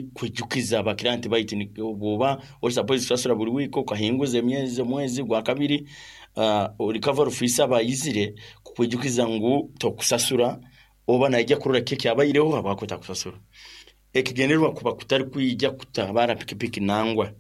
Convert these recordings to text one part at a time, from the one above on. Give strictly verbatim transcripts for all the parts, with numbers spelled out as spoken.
Kwijukiza abakiriya baitu bwoba ori supposed kusasura buri wiiki okahinguza emyezi omwezi gwa kabiri, uh, recovery officer aba ayizire kukwijukiza ngu tokusasura oba naija kurora kiki ekyabaireho habwaki otakusasura. Ekigendererwa kuba kutari kwija kutabara pikipiki nangwa.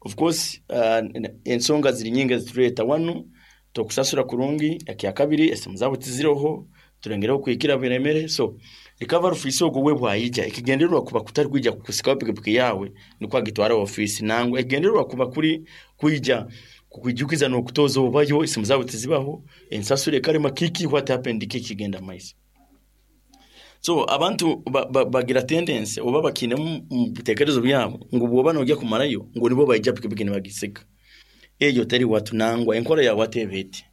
Of course uh, ensonga ziri nyingi ezitureeta wanu tokusasura kurungi, ekyakabiri esimu zaabo tiziroho, turengereho kuhikira biremere, so recovery officer ogwo we bwayija ekigendererwa kuba kutari kwija kukusikaho pikipiki yaawe nikwo agitwara ofiisi nangwa. Ekigendererwa kuba kuri kwija kukwijukiza n'okutoza obayo esimu zaabo tizibaho, ensasura ekarema, kiki, what happened, kiki kigenda mumaiso. So abantu ba, ba, bagira tendency oba bakiine mu bitekerezo byabo ngu bwoba nojya kumarayo ngu nibo baija pikipiki nibagisika. Eyo teri watu nangwa, enkora ya watu eba eti.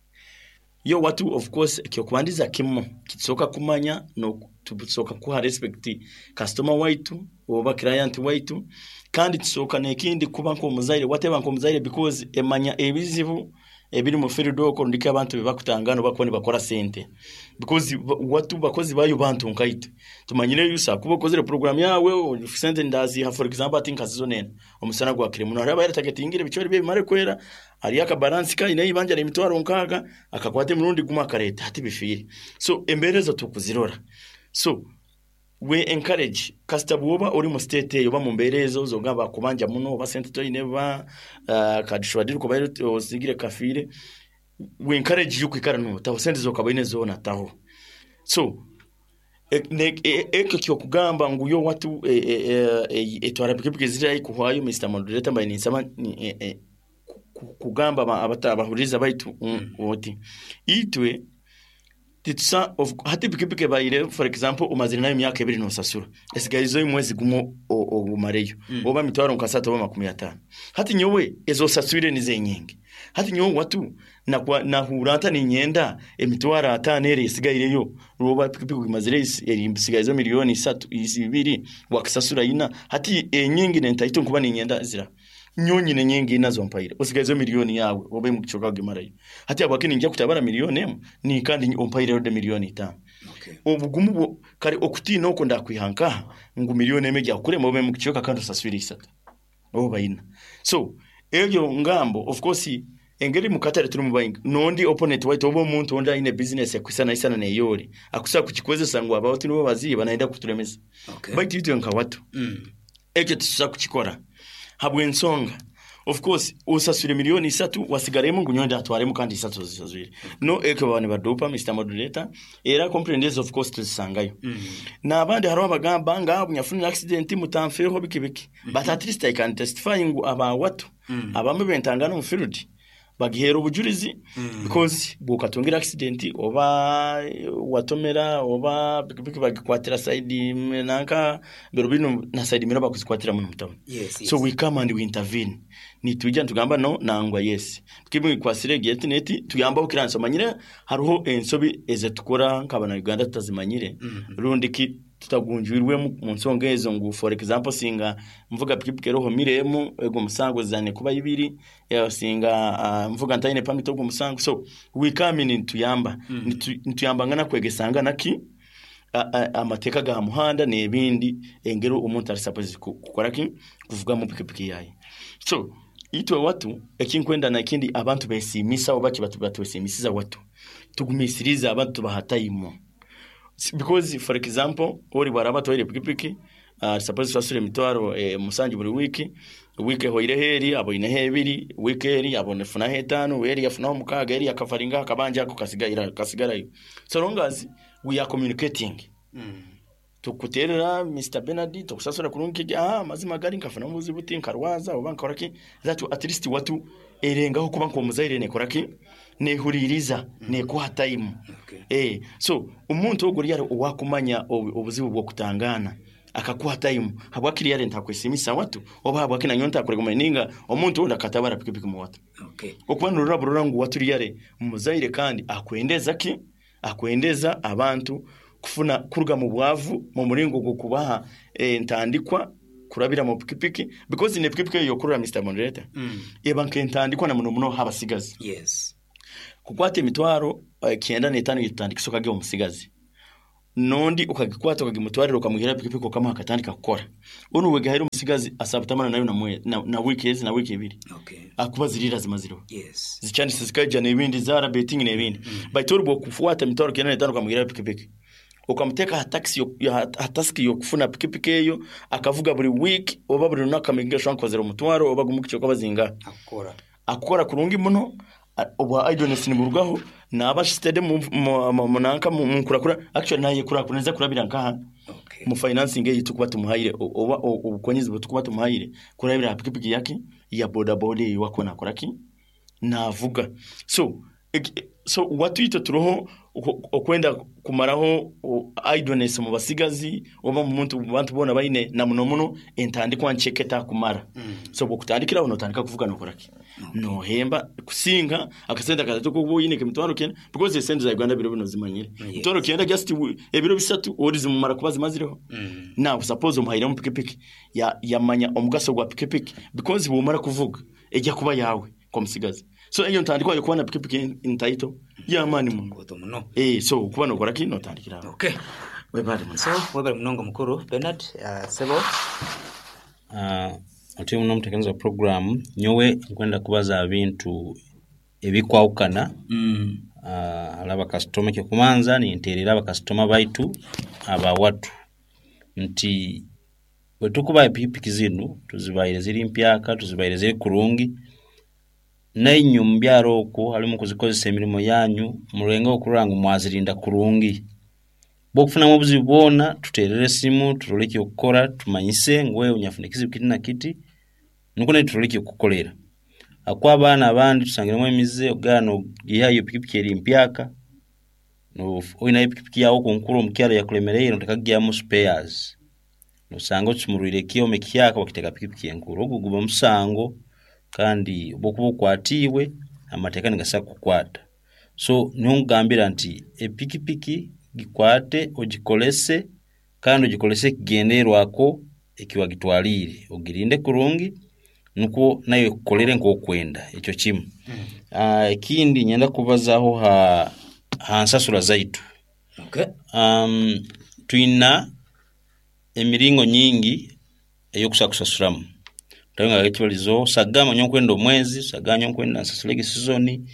Yo watu of course ekyokubandiza kimu kitusoka kumanya no tusoka kuha respect customer waitu oba client waitu, kandi tusoka n'ekindi kuba nk'omuzaire wateba nk'omuzaire because emanya ebizibu ebiri mu field okwo ndiko abantu bebakutangana bakuba nibakora sente, because watu bakozi bayo bantu nkaitwe tumanyire yusa kuba okozere program yawe sente ndaziha. For example, ati nkazizo nena omusana gwakire muno, hariho abayaratagetingire ebicweri bye bimare kwera, hariyo akabalansi kaine ibanja emitwaro nkaaga akakwata emirundi gumwe akareta hati bifiire. So embeera ezo tukuzirora, so we encourage kasita bwoba ori mu state eyo oba mu mbeera ezo zogamba bakubanja muno oba sente toine ba uh, kadishwadiri kuba osigire kafiire, we encourage you kwikara notaho sente zokaba oine zoona taho. So ekyo kyokugamba ngu yo watu etwara pikipiki ziri kuhwayo, Mister Moderator, mbaire ninsaba kugamba abahuririza baitu oti itwe titusa hati pikipiki ebaire, for example, omazire nayo emyaka ebiri nosasura, esigaizeyo omwezi gumwe ogumareyo oba mitwaro nkasatu oba makumi ataano. Hati nyowe ezo osaswire nizo enyingi. Hati nyowe watu nahuura nta ninyenda emitwaro ataano eri esigaireyo oba pikipiki ogimazire esigaizeyo miliyoni isatu ibiri wakisasura ina. Hati enyingi nentaito nkuba ninyenda zira nyowe nyine nyingi nazo mpaire osigaizeyo miliyoni yawe oba emukicoka ogimarayo. Hati habwaki ninjya kutabara miliyoni emu ni kandi ompaireyo de miliyoni itaano? Okay. Obugumu bwo kare okutiina okwo ndakwiha nkaha ngu miliyoni emwe ejya kukurema obe mukicoka kandi osaswire isatu oba ina? So ebyo ngambo, of course engeri mukatare turi mu bayingi nondi opponent waitu oba omuntu ondi aine business ekwisana isana neyori akusobola kukikozesa ngu abawatu nibo baziiba nayenda kuturemesa. Okay. Baitu itwe nka watu Mm. ekyo titusobola kukikora habw'ensonga of course osaswire miliyoni isatu wasigaremu ngu nyowe ndatwaremu kandi isatu ozisaswire no ekyo baba nibadupa, Mister Moderator. Era complaint ezo of course tuzisangayo Mm. n'abandi hariho abagamba nga nyafunire accident mutanfeeho biki biki, but at least I can testify ngu abawatu Mm. abamwe bentangana omu field bagiheera obujurizi Mm. because bwokatungira accident oba watomera oba pikipiki bagikwatira side nanka biro bino na side miro bakuzikwatira muno mutauni. Yes, yes. So we come and we intervene, nitwija nitugamba no nangwa yes pikipiki ikwasire egi neti tuyambaho kiranso. Manyire hariho ensobi ezetukora nk'abana Uganda tutazimanyire Mhm. rundi ki tutagunjwirwemu mu nsonga ezo ngu for example singa mvuga pikipiki eroho miremu ego musango zane kuba ibiri eh, singa uh, mvuga ntaine permit ogwo musango. So we come in nituyamba Mm. Nitu- nituyambangana kwegesangana ki a- a- amateeka ga muhanda n'ebindi engeri omuntu ari supposed ku- kukora ki kuvuga mu pikipiki yaye. So itwe watu ekinkwenda nakindi abantu besimisa oba ki batwesimisiza watu tugumisiriza abantu tubaha time. Because for example ori bwaraba atwaire pikipiki uh, suppose tusasure emitwaro eh, musanju buri wiki, wiki ehoireho eri aboineho ebiri, wiki eri abonefunaho etaano, eri yafunaho mukaaga, eri yakafaringaho akabanja ako kasigaira kasigarayo, so long as we are communicating Mm. tukuterera Mister Bernard tukusasura kurungi kiki ah mazima gari nkafuna obuzibu buti nkarwaza oba nkora ki that at least watu erengaho kuba nk'omuzaire nekora ki nehuririza nekuha time. Okay. Eh, so omuntu ogwo yari owakumanya obu- obuzibu bw'okutangana akakuha time habwakiri yari ntakwesimisa watu oba habwaki nanyo ntakurega ninga omuntu ondi akatabara pikipiki mu watu Okay. okuba nurora burora ngu watu yare muzaire kandi akwendeza ki akwendeza abantu kufuna kuruga mu bwavu mu muringo gwo kubaha eh, ntandikwa kurabira mu pikipiki because ne pikipiki eyo yokurura, Mister Moderator, Mm. eba nk'entandikwa na muno muno habasigazi Yes. kukwata emitwaro eh, kyenda n'etaano yetutandikisa okage omusigazi. Nondi ukagikwata ukagimutwarira, ukamuhira pikipiki, ukamuha akatandika kukora, onu wegahaire omusigazi asabutamana nayo na, mwe- na, na wiki ezi na wiki ebiri, Okay. akuba zirira zimazireho. Yes. Zichandise zikaija n'ebindi zara betting n'ebindi mm. Baitu ori bwokufuata emitwaro kenda n'etaano ukamuhira pikipiki, ukamuteka ha taxi yo- ya- ha task yokufuna pikipiki eyo, akavuga buri week oba buri lunaku, amakinga sure nkozera omutwaro oba gumukicho kwaba zinga. Akukora. Akukora kurungi muno, a- obwa idleness niburugaho, naba steady mu mu- mu- munanka mu nkurakura. Actually naye kurakura neza kurabira nkaha Okay. mu financing eyi tukuba tumuhaire o- oba o- obukonyezi bwe tumuhaire kurabira ha pikipiki yake ya boda boda eyi wako nakoraki navuga. So ek- so watwite turoho oku- okwenda kumaraho o- idleness mu basigazi oba mu muntu, mu bantu bona baine na muno muno entandikwa ncheke takumara mm. So bwokutandikiraho notandika kuvuga nokoraki nohemba kusinga akasente akatatu kuba oyine emitwaro kenda, because esente za Uganda biro bino zimanyire. Yes. Mitwaro kenda just wi- ebiro bisatu ori zimumara kuba zimazireho Mm. Now suppose omuhairemu pikipiki, ya yamanya omugaso gwa pikipiki, because bwomara kuvuga ejya kuba yawe komusigazi. So eyo ntandikwa yo kuba na pikipiki ntaito yamani muno. Koto muno. eh so kuba nokora ki notandikiraho. Okay. Webale muno. So webale munonga mukuru Bernard, uh, sebo. Uh, oti muno omuteekaniza wa program, nyowe nkwenda kubaza bintu ebikwawukana. Mm. uh, hali abakasitoma, ekyokumanza ninteerera abakasitoma baitu abawatu nti bwe tukubaha epikipiki zinu tuzibaire ziri mpyaka, tuzibaire ziri kurungi, nainywe omu byaro okwo halimu kuzikozesa emirimu yanyu, murenge okurora ngu mwazirinda kurungi. Bwokufunamu obuzibu bwona tuteerere esimu turole ekyokukora, tumanyise ngu wewe nyafuna ekizibu kiti na kiti, nukwo naitwe turole ekyokukukolera. Akuba abaana abandi tusangiremu emize ogana nogihayo pikipiki eri mpyaka, no- oyinayo pikipiki yawe okunkuru omukyaro yakulemereire, noteka kugyamu spares, nosanga okisumurwire ekyoma ekihyaka wakiteeka pikipiki enkuru. Ogwo guba musango, kandi bwokuba okwatiibwe amateeka nigasa kukukwata. So niho nkugambira nti epikipiki gikwate ogikolese, kandi ogikolese ekigendererwako ekiwagitwaliire, ogirinde kurungi nukwo nayo ekukolere nk'okwenda. Ekyo kimu. uh, ekindi nyenda kubazaho ha, ha nsasura zaitu. Okay. um, twina emiringo nyingi eyokusa kusasuramu tawenga ekibalizo sagama nyo nkwenda omwezi, sagama nyo nkwenda nsasulege sizoni,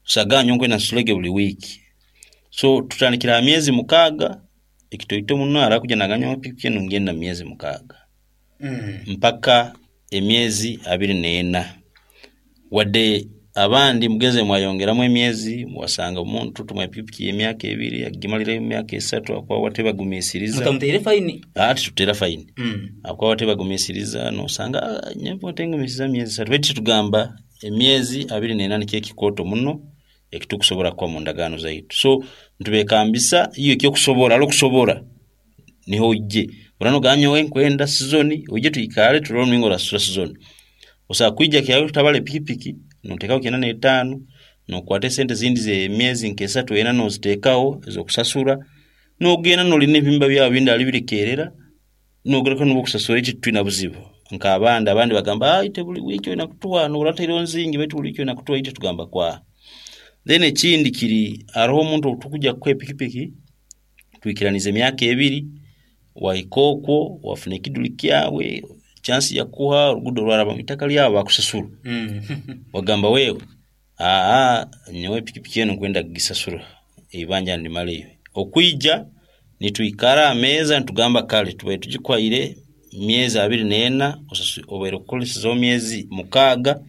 sagama nyo nkwenda nsasulege buli wiiki. So tutandikira ha myezi mukaaga ekitoito muno, arakuja naganya pikipiki enu ngenda myezi mukaaga Mm. mpaka emyezi abiri n'ena. Wadde abandi mugeze mwayongeramu emyezi, wasanga omuntu tumwa pikipiki y'emyaka ebiri agimalira emyaka esatu akwawa tebagumiisiriza. Mutamuteire faini. Ati tutera faini. Mm. Akwawa tebagumiisiriza, nosanga "Ah, nyewe tengumiisiriza myezi esatu." Baitu tugamba emyezi abiri n'ena nikyo ekikooto muno ekitukusobora kuba mu ndagaano zaitu. So ntubekambisa iyo ekyokusobora ali okusobora niho ojje urano ganyowe nkwenda sizoni, ojje tuikale turole omulingo orasasura sizoni. Osobola kwija kyawe tutabala epikipiki noteekaho kyenda n'etaano, nokwata esente zindi z'emyezi nk'esatu ena noziteekaho ez'okusasura, nogenda nolina ebihimba byawe bindi ali birikerera nogaruka nibwo okusasura. Eki tutwina buzibu nk'abandi. Abandi bagamba, "Ah, ite buli wiiki olina kutuwa norataireho nzingi, baitu buli wiiki olina kutuwa." Ite tugamba kwa. Then ekindi kiri hariho omuntu obutukujja kukuha epikipiki twikiraniza emyaka ebiri, wahika okwo wafuna ekiduli kyawe, chance yakuha orugudo rwaraba mu itaka lyawe bakusasura. Mm. Wagamba wewe, aa nyowe pikipiki enu nkwenda kugisasura eibanja ndimaleyo. Okwija nitwikara ameeza nitugamba kale tubaire tugikwaire myezi abiri n'ena, osasu- obaire okukolesezaho myezi mukaaga,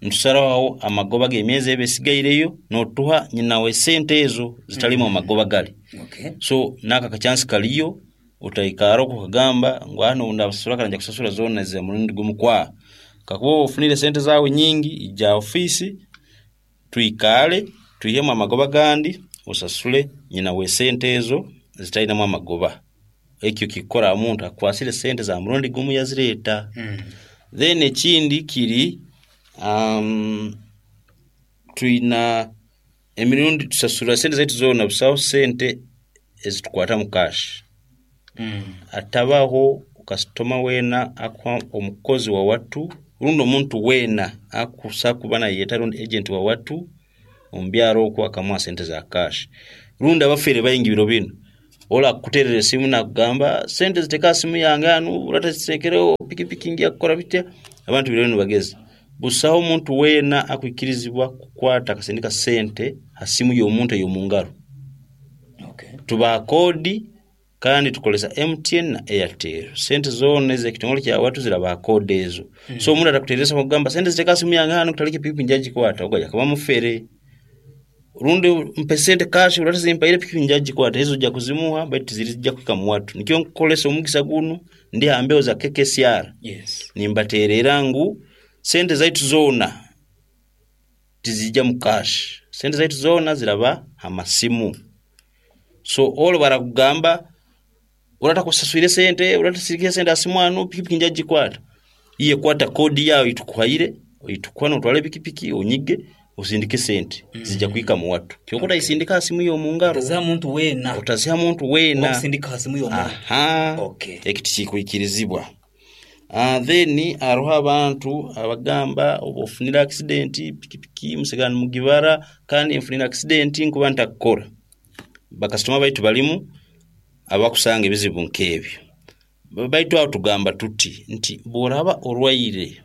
ntusaraho amagoba g'emyezi eba esigaireyo notuha nyinawe esente ezo zitalimu amagoba gali. Okay. So naka akachansi kaliyo, utaikara okwo okagamba ngu hano ndabasasura kare nja kusasura zoona za murundi gumu kwa kakuba ofunire sente zawe nyingi, ija ofisi twikale twihemu amagoba gandi osasule nyina w'esente ezo zitalinamu amagoba. Ekyo kikora omuntu akwasire sente za murundi gumu yazireeta. Mm. Then ekindi kiri um, twina emirundi tusasura sente zaitu zoona, busaho sente ezitukwata mu cash. Mm. Atabaho kasitoma weena akuha omukozi wa watu rundi omuntu weena akusa kuba nayeta rundi agent wa watu omu byaro okwo akamuha sente za cash, rundi abafere baingi biro binu. Ola akuterera esimu nakugamba sente ziteka simu yange hanu uratazitekereho pikipiki ngiya kukora bitya. Abantu biriyo nibageza busaho omuntu weena akwikirizibwa kukwata akasindika sente ha simu y'omuntu ey'omungaro. Okay. Tubaha kodi kandi tukolesa M T N na Airtel. Sente zoona ez'ekitongole kya watu zirabaha kodi ezo. Mm. So omuntu atakuteresa kugamba sente ziteka simu yange hanu kutaleke pikipiki njagikwata, ogo yakaba mufere. Rundi mpe sente cash uratazimpaire pikipiki njagikwata, ezo ojja kuzimuha baitu zirijja kuhika mu watu. Nikyo nkukolesa omugisa gunu ndi ha mbeho za K K C R. Yes. Nimbaterera ngu sente zaitu zoona tizijja mu cash. Sente zaitu zoona ziraba ha masimu. So all barakugamba uratakusaswire sente, uratasirikire sente asimu anu pikipiki njagikwata. Iye kwata kodi yawe itukuhaire, itukuha notwale pikipiki onyige usindike sente Mm. zijja kuhika mu watu. Kyokota Okay. isindika simu yo mungaro. Utaziha muntu wena. Utaziha muntu wena. Okusindika simu yo muntu. Aha. Okay. Ekiti kikwikirizibwa. Uh, then aroho abantu abagamba oba ofunira accident pikipiki musigana mugibara kandi nfunira accident nkuba ntakukora. Bakasitoma baitu balimu abakusanga ebizibu nk'ebyo. Baitu aho tugamba tuti nti bw'oraba orwaire,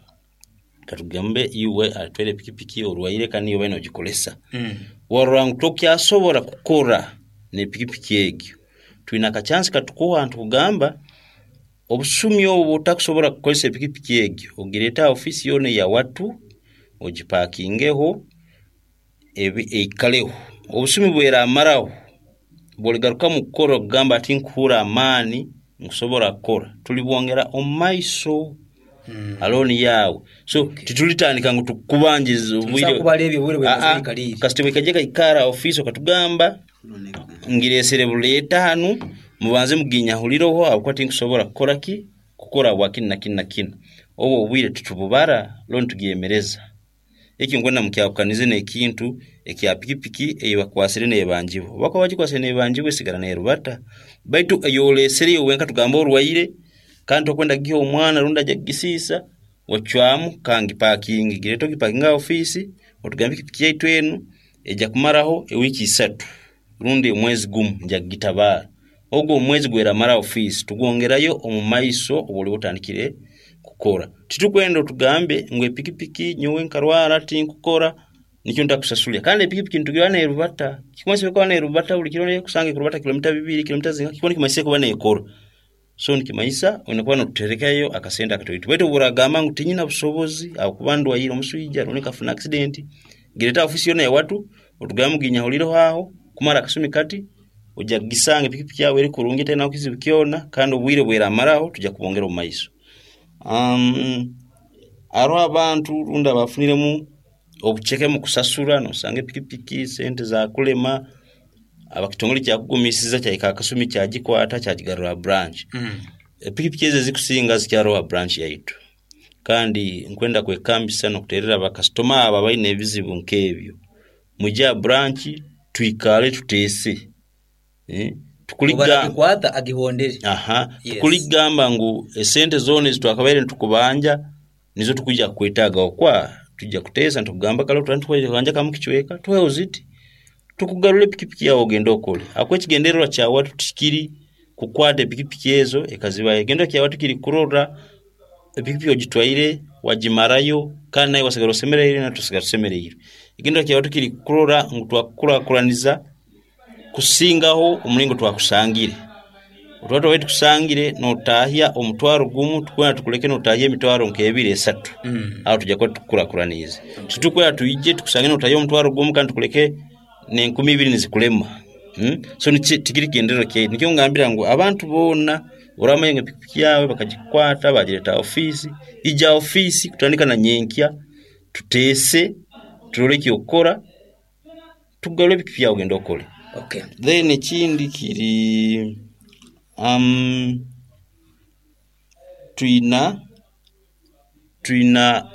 katugambe iwe atwere pikipiki orwaire kandi iwe nogikolesa. Mm. Warora ngu tokyasobora kukora n'epikipiki egyo. Twina akachansi katukuha ntukugamba obusumi obwo butakusobora kukozesa epikipiki egyo, ogireta ofisi yona ya watu ogipakingeho ebi eikaleho. Obusumi bweramaraho bwoligaruka mu kukora okugamba ati nkuhura amaani nkusobora kukora, tulibwongera omu maiso Mm. aloni yawe. So Okay. titulitandika ngu tukubanjiza obwire. Tumusa kubala ebyo obwire bwe Ah, ah, bazikalire. kasita bwekajja kaikara ofisi okatugamba ngiresere buleeta hanu mubanze muginyahulireho ahabwokuba tinkusobora kukora ki kukora bwa kinu na kinu na kinu. Obwo obwire tutububara loni tugyemereza. Ekyo nkwenda mukyahukanize n'ekintu ekya pikipiki eyibakwasire n'ebanjibwa. Bakuba bagikwasire n'ebanjibwa esigara n'erubata. Baitu eyolesereyo wenka tugamba orwaire kandi tokwenda kugiha omwana rundi ajja kugisiisa, wacwamu kangipakinge. Gireeta ogipakinge aha ofiisi otugambe pikipiki yaitu enu ejja kumaraho ewiiki isatu rundi omwezi gumu nja kugitabaara. Ogwo omwezi gweramara ofiisi tugwongerayo omu maiso obu oliba otandikire kukora. Titukwenda otugambe ngu epikipiki nyowe nkarwara tinkukora nikyo ntakusasulira. Kandi epikipiki nitugira n'erubata. Kikumanyisa kuba n'erubata buli kiro kusanga ekurubata kilomita bibiri, kilomita zinga, kikuba nikimanyisa kuba n'ekora. So nikimanyisa oyina kuba notuterekayo akasente akatoito. Baitu obu oragamba ngu tinyina busobozi ahabwokuba ndwaire omuswija rundi nkafuna accident, gireta ofisi yona ya watu otugambe muginyahulireho aho kumara akasumi kati ojja kugisanga epikipiki yawe eri kurungi etayina kizibu kyona kandi obwire bweramaraho tujja kubwongera omu maiso. Um, hariho abantu rundi abafuniremu obuceke mu kusasura, nosanga epikipiki sente zakulema, abakitongole kyakugumisiza kyahika akasumi kyagikwata kyagigarura branch. Mm. Epikipiki ezo ezikusinga zikyaroho branch yaitu. Kandi nkwenda kwekambisa n'okuterera abakasitoma abo abaine ebizibu nk'ebyo. Mwije aha branch twikale tuteese. Eh, tukuliga Obaragikwata agihondere. Aha, Yes. tukuligamba ngu esente zoona ezitwakabaire nitukubanja nizo tukujja kukwetaaga okwa tujja kuteesa nitukugamba kale otwara nitukwanja kamu kicweka tuheho ziti tukugarura epikipiki yawe ogende okole. Ahabwokuba ekigendererwa kya watu tikiri kukwata epikipiki ezo ekazibaho. Ekigendererwa kya watu kiri kurora epikipiki ogitwaire wagimarayo kandi nawe wasigara osemereire natwe tusigara tusemereire. Ekigendererwa kya watu kiri kurora ngu twakukurakuraniza kusingaho omuringo twakusangire. Otwaba twabire tukusangire notahya omutwaro gumu tukwenda tukuleke notahya emitwaro nk'ebiri esatu. Mm. Aho tujja kuba tukukuraakuraniize. Titukwenda twije tukusange notahya omutwaro gumu kandi tukuleke n'enkumi ibiri nizikulema. Mm? So niki tikiri kigendererwa kyaitu. Nikyo ngambira ngu abantu boona oramanya ngu epikipiki yawe bakagikwata bagireta ofiisi, ija ofiisi kutandika na nyenkya tuteese turore ekyokukora tukugarure epikipiki yawe ogende okole. Okay. Then ekindi kiri um, twina twina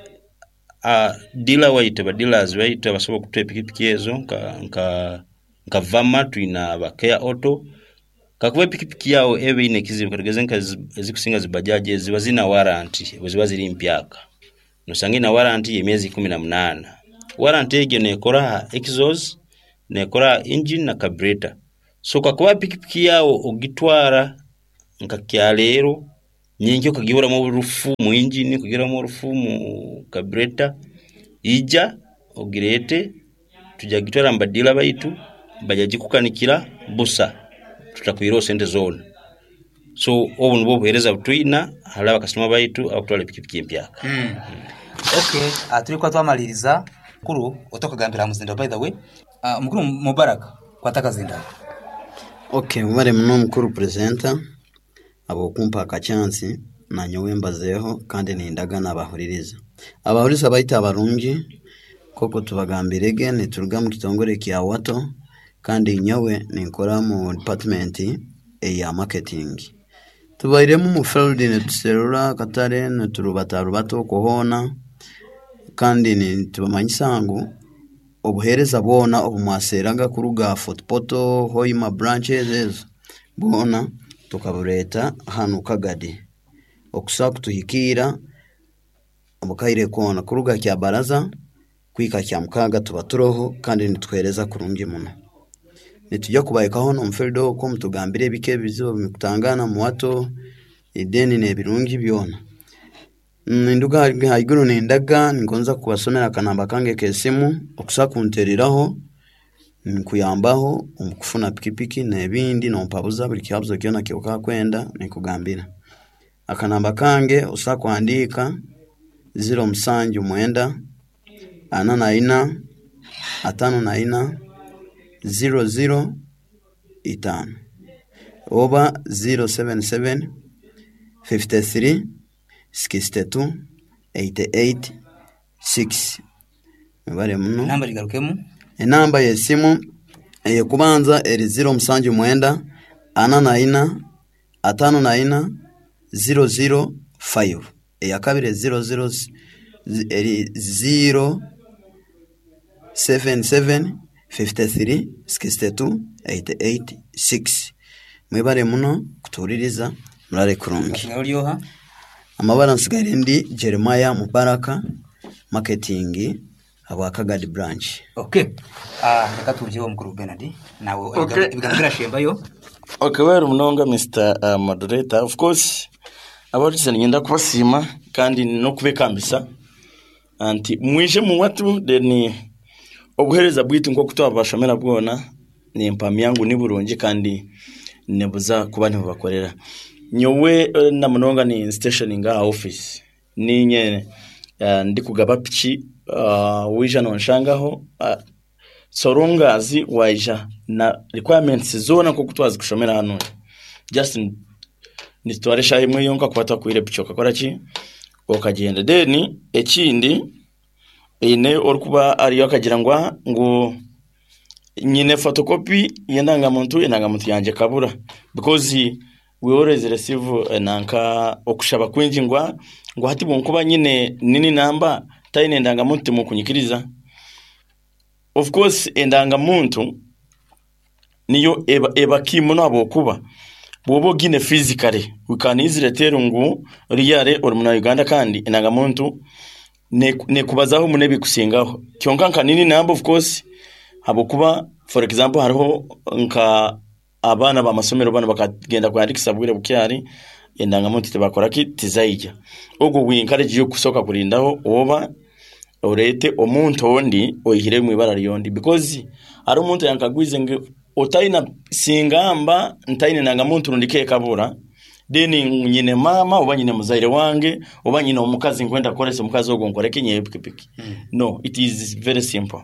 uh, dealer waitu ba dealers baitu abasobola okutuha epikipiki ezo nka nka nka Vama twina ba Care Auto. Kakuba epikipiki yawe eba eine ekizibu katugeze nka ezikusinga zi bajaji ezo ziba zina warranty bwe ziba ziri mpyaka. Nosanga ina warranty y'emyezi ikumi na munaana. Warranty egyo nekora aha exhaust, nekora aha engine na carburetor. So kakuba pikipiki yawe ogitwara nka kyaleero, nyenkya okagihuramu orufu mu engine, okagihuramu orufu mu carburetor, ija ogireete, tujja kugitwara mu badiila baitu, bajja gikukanikira busa, tutakwireho sente zoona. So obu nibwo obuheereza butwina hali abakasitoma baitu abakutwara epikipiki empyaka. Mm. Okay, uh, turi kuba twamaliriza mukuru otokagambira aha muzinda, by the way. uh, mukuru Mubaraka, kwata akazindaro. Okay, mwebale muno mukuru presenter ahabw'okumpa akachansi nanyowe mbazeeho, kandi nindaga nabahuririza. Abahuriza baitu abarungi, nk'oku tubagambirege, nituruga mu kitongore kya Wato, kandi nyowe ninkora mu department eya marketing. Tubairemu mu field nituserura akatare, niturubatarubata okwo hoona, kandi nitubamanyisa ngu obuheereza bwona obumwaseeraga kuruga Fort Portal, Hoima branches ezo bwona tukabureeta hanu Kagadi okusobola kutuhikiira omukaire koona kuruga Kyabaraza kuhika Kyamukaaga tuba turoho kandi nituheereza kurungi muno. Nitujya kubahikaho n'omu field okwo mutugambire ebika ebizibu ebimukutangana mu Wato, then n'ebirungi byona. Ninduga haiguru nindaga ningonza kubasomera akanamba kange k'esimu okusobola kuntereraho, nkuyambaho omu kufuna pikipiki n'ebindi, nompabuza buri kihabuzo kyona kyokakwenda ninkugambira. Akanamba kange osobola kuhandiika ziro musanju mwenda ana na ina atano na ina ziro ziro itaano oba ziro seven seven fifty three sixty two eighty eight six. Mwebale muno. Namba ligarukemu. Enamba y'esimu ey'okubanza eri ziro musanju mwenda ana na ina atano na ina ziro ziro five. Eyakabiri ziro ziro eri ziro seven seven fifty three sixty two eighty eight six. Mwebale muno kutuhuririza, murare kurungi. Nasigaye oryoha? Amabara nsigaire ndi Jeremiah Mubaraka, marketing habwa Kagadi branch. Okay. Ah, reka tubyeho mukuru Bernard. Nawe Okay. ibigambo birashembayo. Okay, well, munonga Mister uh, Moderator. Of course, abarutse ngenda kubasiima kandi n'okubekambisa anti mwije mu watu, then obuheereza bwitu nk'oku twabashomera bwona nimpamya ngu ni burungi kandi nibuza kuba nibubakorera. Nyowe eh, na munonga ni station nga office ninye uh, ndikugaba piki, uh, wija nonshangaho, uh, sorongazi waija na requirements zona nk'oku twazi kushomera hano, just nitwara eshaha emwe yonka kuba twakwire piki okakora ki okagenda. Then ekindi eine orikuba ariyo akagira ngu ah, ngu nyine photocopy y'endangamuntu, endangamuntu yangye kabura, because we always receive eh, nanka okushaba kwingi ngu ah, ngu hati bwonkuba nyine nini namba taine endangamuntu timukunyikiriza. Of course endangamuntu niyo eba, eba key muno, ahabw'okuba bw'oba ogine physically we can easily tell ngu riyare ori muna Uganda, kandi endangamuntu nekubazaho muno ebikusingaho. Kyonka nka nini namba, of course, ahabw'okuba for example hariho nka abaana b'amasomero bano bakagenda kwandikisa bwire bukyari, endangamuntu tibakora ki tizaija. Ogwo we encourage you kusooka kurindaho oba orete omuntu ondi oyihire mu ibara ryondi, because hari omuntu yankagwize ngu otaina singamba ntaine ndangamuntu rundi kekabura, then nyine mama oba nyine muzaire wange oba nyine omukazi nkwenda kukoresa omukazi ogwo nkoreke nyewe pikipiki. No, it is very simple.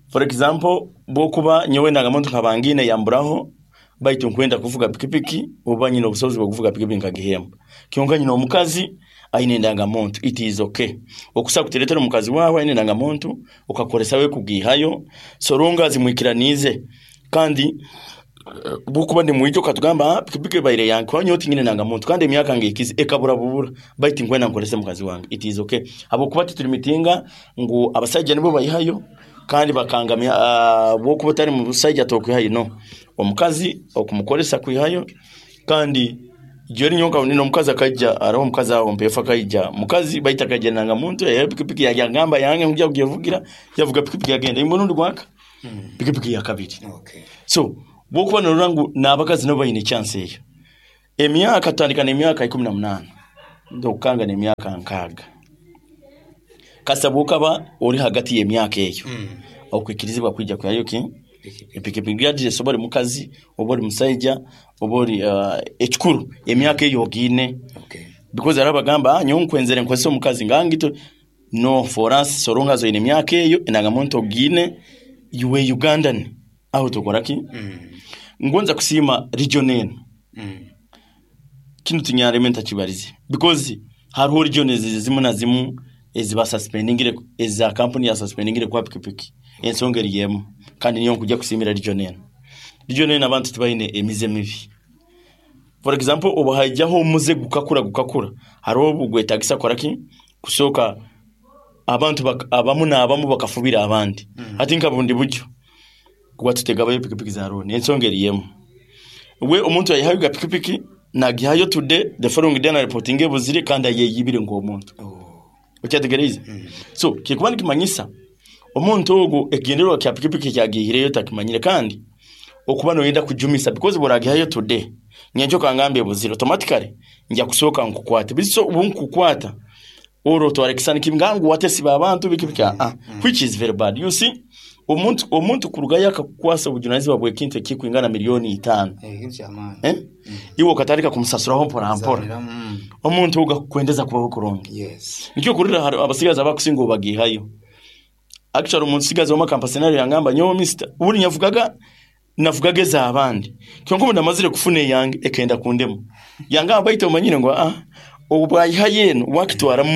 For example, bwokuba nyowe ndangamuntu nkabangine yamburaho, baitu nkwenda kuvuga pikipiki oba nyine obusobozi bwo kuvuga pikipiki nkagihemba, kyonka nyine omukazi aine endangamuntu, it is okay okusa kuteretera omukazi wawe aine endangamuntu okakoresa we kugihayo soronga zimwikiranize. Kandi bwokuba ndi mwijo okatugamba, ah, pikipiki ebaire yange kuba nyowe tinyine endangamuntu kandi emyaka ngikize ekabura bubura, baitu nkwenda nkorese mukazi wange, it is okay, ahabwokuba tituri ngu abasajja nibo bayihayo kandi bakangamya, uh, bwokuba otari mu busajja tokwihayo. No omukazi okumukoresa kwihayo, kandi jeri nyonka nino omukazi akaija, hariho omukazi aho mpefu akaija mukazi baita akaija endangamuntu eyo pikipiki yagamba yange nkuja kugivugira, yavuga pikipiki yagenda imurundi gwaka pikipiki ya kabiri. Okay. So Bwokuba norora ngu n'abakazi nabo baine chance eyo. Emyaka tutandika n'emyaka ikumi na munaana ndokukanga n'emyaka nkaaga. Kasa bwokaba ori hagati y'emyaka eyo, okwikirizibwa kwija kuhayo ki epikipiki, regardless oba ori mukazi oba ori musaija oba ori uh, ekikuru emyaka eyo ogiine. Okay. Because hariho abagamba, "Ah, nyowe nkwenzere nkozesa omukazi ngangito." No, for us, so long as oine emyaka eyo, endangamuntu ogiine, you were Ugandan, aho tukora ki. Ngonza kusiima region eno. Mm. Kinu tinyareme ntakibarize, because hariho region ezi zimu na zimu ezibasuspendingire, eza kampuni yasuspendingire kwa pikipiki, ensonga eri emu. Kandi niyo nkujya kusiimira region eno. Region eno abantu tibaine emize mibi. For example, obu haijaho omuze gukakura gukakura, hariho obu gwetagisa kukora ki, kusooka abantu bak- abamu n'abamu bakafubira abandi. Hati nka bundi buryo kuba tutegabayo pikipiki za loan, ensonga eri emu. We omuntu ayihayo ga pikipiki nagihayo today, the following day na reporting ebuzire kandi ayeyibire nk'omuntu. Okyategereize? So kikuba nikimanyisa omuntu ogu ekigendererwa kya pikipiki kyagihireyo takimanyire, kandi okuba noyenda kujumisa, because buragihayo today, nyenkyo kangamba ebuzire, automatically nja kusooka nkukwate. Biso ubu nkukwata olwo otwara ekisani kibi ngangu watesiba abantu biki biki, ah, which is very bad. You see, omuntu omuntu kurugayo akakukwasa obujunanizibwa bw'ekintu ekikwingana miliyoni itaano. Eh, ekintu kyamaani. Eh? Iwe okatandika kumusasuraho mpora mpora. Mm. Omuntu ogu akukwendeza kubaho kurungi. Yes. Nikyo kurira hari abasigazi abakusinga obagihayo. Actually, omuntu w'omu kampa scenario yangamba, "Nyowe mister, ubundi nyavugaga navugaga ez'abandi, kyonka obu namazire kufuna eyange ekenda kundemu." Yangamba, "Baitu omanyire ngu ah, obu bwayihayo eno wakitwara mu